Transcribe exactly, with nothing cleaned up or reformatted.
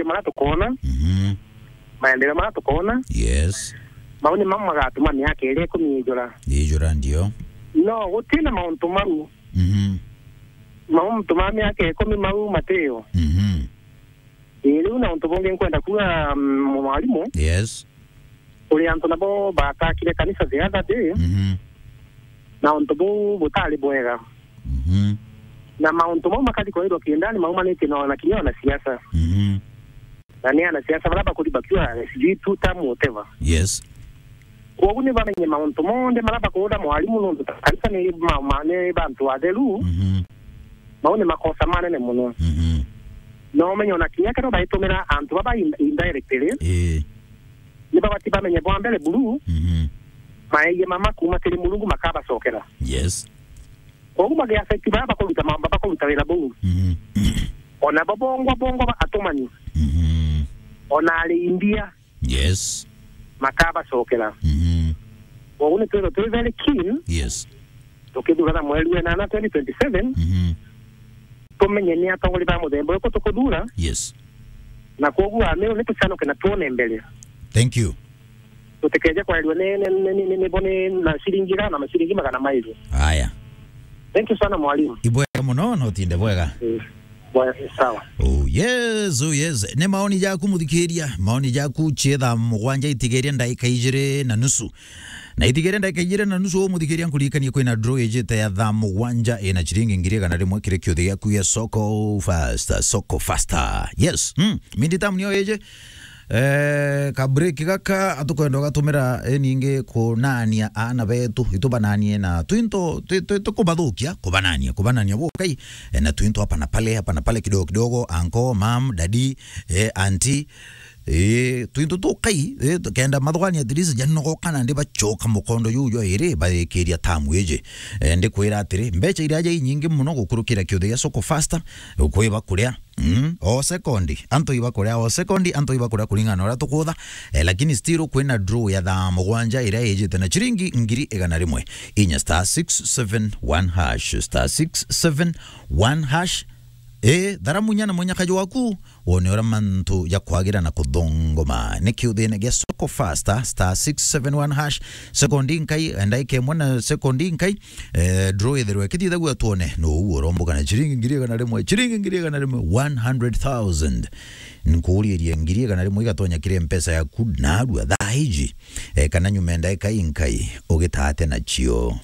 maria tukoona, Mhm. maendeleo maria tukoona, Yes. mau ni mamwe magatuma miaka iria ikumi ijura. Ijura ndio. No gutina mauntu mau. Mhm. Mauntu ma miaka ikumi mau matiyo. Mhm. Ii, riu na untu bungi nkwenda kuuga, mm, mwarimu, Yes. kuri antu nabo batakire kanisa the other day, Mhm. na untu buu butari bwega. Mhm. Na mauntu mau makathi kwairwa kiendani maumanitie na ona kinya ona siasa. Mhm. Na ni ana siasa baria bakuri bakiuga sijui two term whatever. Yes. Kwogu ni bamenye mauntu monthe maria bakuuga mwarimu nontu kanisa ni ma-, ma-, ni bantu atheru. Mhm. Mau ni makosa manene mono. Mhm. Na umenye ona kinya kethirwa baitumira antu baba in-, indirectly, Ii. ni babati bamenye bwa mbere buru, Mhm. maeyie mama kuuma kiri Murungu makabacokera. Yes. Kwogu bagi affect baria bakuruta ma-, bakuruta wira buu. Mhm. Ona bo bongwa, bongwa ba atumani. Mhm. Ona ari imbia. Yes. Makabacokera. Mhm. Kwogu ni twirwe twi very keen. Yes. Tukithurana mweri wa enana twenty twenty-seven, Mhm. tumenye ni atongoria ba muthemba uriku tukuthura. Yes. Na kwogu Ameru ni tucanoke na tuone mbere. Thank you. Tutikeje kwairua ni, ni, ni, ni, ni, ni bo ni na ciringi igana na maciringi magana mairu. Aya. Thank you sana mwalimu. Ibwega muno, no tinde bwega. Eh, bwa-, sawa. Oh yes, oh yes. Ni maoni jaku muthikiria, maoni jaku cie thaa mugwanja itigeria ndaika ijiri na nusu. Na itigeria ndaika ijiri na nusu, muthikiria, nkuririkanie kwina draw ijite ya thaa mugwanja ina ciringi ngiri igana rimwe kiri kiuthi giaku gia Soko Fasta, Soko Fasta. Yes, mm, mindi tamu niyo iji. Eh, ka break gaka atukwenda ugatumira, eh, ningi kunania aana betu, itubananie na twinto, twi-, twi-, tukubathukia, kubanania, kubanania bukai, eh, na twinto hapa na pale, hapa na pale, kidogo kidogo, uncle, mom, daddy, eh, auntie, eh, twinto tukai, eh, kenda mathugania at least janogoka na ndi bachoka mukondo juu jwa iri, bayikiria tamu iji. Eh, ndikwira atiri, mbecha iria ja inyingi muno gukurukira kiuthi gia Soko Fasta, ukwiba kuria, Mm, o sekondi, antu iba kuria, o sekondi, antu iba kuria kuringana na uria tukutha. Eh, lakini still kwina draw ya thaa mugwanja iria ijite na ciringi ngiri igana rimwe. Inya star six seven one hash, star six seven one hash. Eh, thara munya na munyakaji waku, wone uria mantu jakwagira na kuthongoma. Ni kiuthine gia Soko Fasta, star six seven one hash, sekondi nkai, ndaika imwe na sekondi nkai, Eh, draw ithirwe ikithithagua twone nuu uromboka na ciringi ngiri igana rimwe, ciringi ngiri igana rimwe, one hundred thousand. Nkuuriirie ngiri igana rimwe igatonya kiri mpesa yaku narua thaa iji, eh, kana nyuma ya ndaika inkai ugitaa atia nacio?